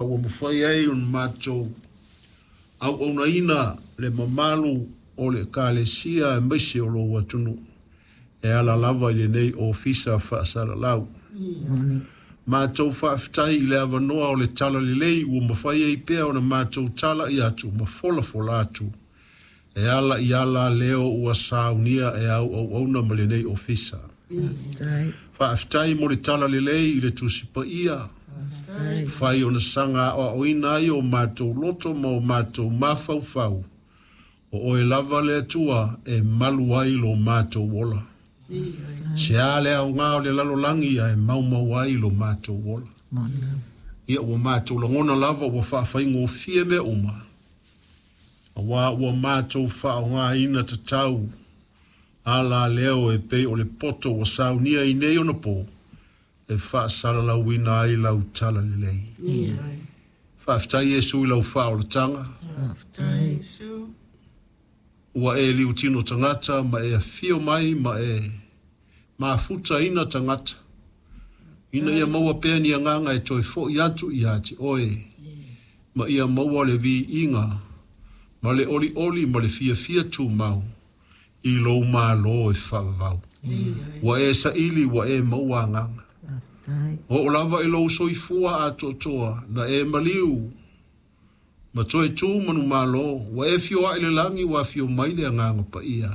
Ua mafai ai ona matou auaunaina le mamalu o le Ekalesia aemaise o lou atunuu e ala lava i lenei ofisa faasalalau. Matou faafetai i le avanoa o le talalelei ua mafai ai pea ona matou talai atu ma folafola atu e ala i ala leo ua saunia e au auauna ma lenei ofisa. Faafetai mo le talalelei i le Tusi Paia, fai ona saga aoaoina ai o matou loto ma o matou mafaufau, o oe lava le Atua e malu ai lo matou ola. Se a le aoga o le lalolagi ae maumau ai lo matou ola. Ia ua matou lagona lava ua faafaigofie mea uma, auā ua matou faaaogaina tatau ala leo e pei o le poto ua saunia i nei ona po e faasalalauina ai lau talalelei. Faafetai Iesu i lau faaolataga. Ua e liutino tagata ma e afio mai ma e mafutaina tagata, ina ia maua pea ni agaga e toe fo'i atu ia te oe, ma ia maua le viiga ma le olioli ma le fiafia tumau i lou Malo e faavavau. Ua e saili, ua e maua agaga. Oo lava i lou soifua atoatoa, na e maliu ma toe tu manumalo, ua e fioai i le lagi, ua afio mai le Agaga Paia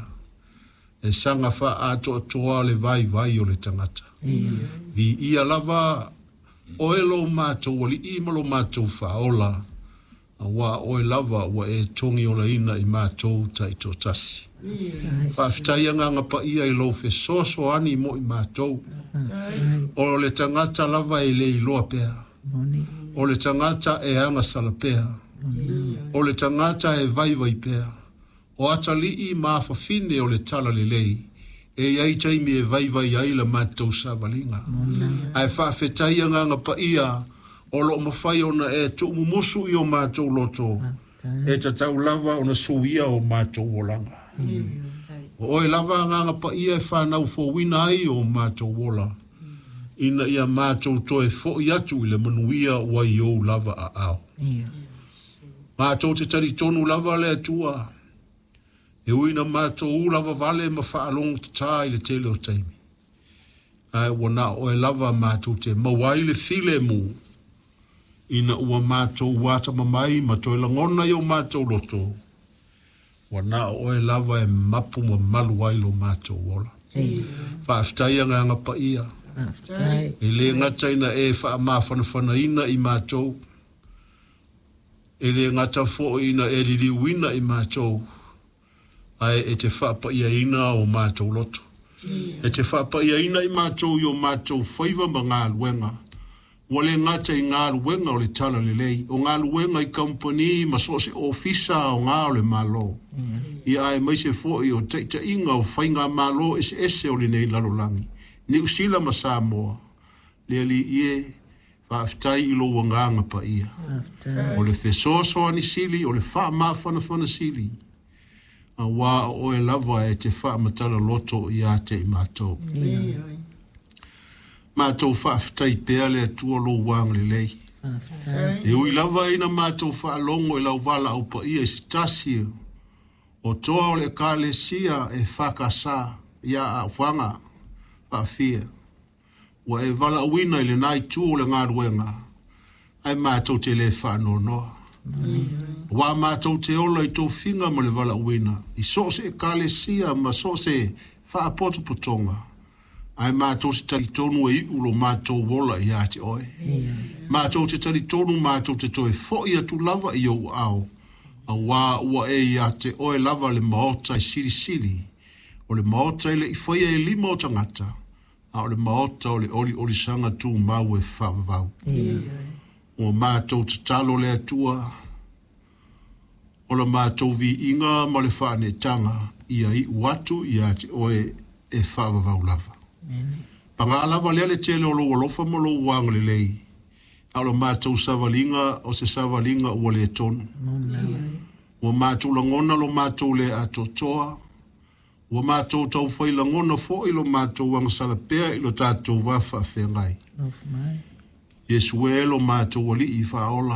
e saga faaatoatoa le vaivai o le tagata. Viia lava oe lo matou Alii ma lo matou Faaola, auā oe lava ua e togiolaina i matou taitoatasi. Faafetai Agaga Paia i lou fesoasoani mo i matou. O le tagata lava e le iloa pea, o le tagata e agasala pea, o le tagata e vaivai pea, o atalii ma afafine o le talalelei, e i ai taimi e vaivai ai la matou savaliga. Ae faafetai Agaga Paia o loo mafai ona e tuumumusu i o matou loto, e tatau lava ona suia o matou olaga. O oe lava Agaga Paia e fanau fouina ai o matou ola, ina ia matou toe fo'i atu i le manuia ua i ou lava aao. Matou te talitonu lava le Atua, e ui na matou ula vavale ma faalogo tatā i le tele o taimi, ae ua na o oe lava matou te maua ai le filemu, ina ua matou atamamai ma toe lagona i o matou loto, ua na o oe lava e mapu ma malu ai lo matou ola. Faafetai Agaga Paia, e le gata ina e faamafanafanaina i matou, e le gata foi ina e liliuina i matou, ae e te faapaiaina o matou loto. E te faapaiaina i matou i o matou faiva ma galuega, ua le gata i galuega o le talalelei, o galuega i kamupani ma so o se ofisa aoga o le Malo, ia aemaise foi o taitaiga o faigamalo eseese o lenei lalolagi, Niu Sila ma Samoa. Le Alii e, faafetai i lou Agaga Paia. O le fesoasoani sili, o le faamafanafana sili, auā o oe lava e te faamatala loto ia te i matou. Matou faafetai pea le Atua lou agalelei. E ui lava ina matou faalogo i lau valaau paia i se tasi o toa o le Ekalesia e FKS ia Aafaga Faafia, ua e valaauina i lena itu o le galuega, ae matou te le faanoanoa. Auā matou te ola i tofiga ma le valaauina i so o se ekalesia ma so o se faapotopotoga, ae matou te talitonu e iu lo matou ola ia te oe. Matou te talitonu matou te toe fo'i atu lava i ou aao, auā ua e ia te oe lava le maota e silisili, o le maota e le i faia e lima o tagata, a o le maota o le oliolisaga tumau e faavavau. Ua matou tatalo le Atua, o la matou viiga ma le faaneetaga ia iu atu ia te oe e faavavau lava. Paga lava lea le tele o lou alofa ma lou agalelei, a o la matou savaliga o se savaliga ua le tonu. Ua matou lagona lo matou le atoatoa, ua matou taufai lagona foi lo matou agasala pea i lo tatou va faafeagai. Iesu e lo matou Alii faaola.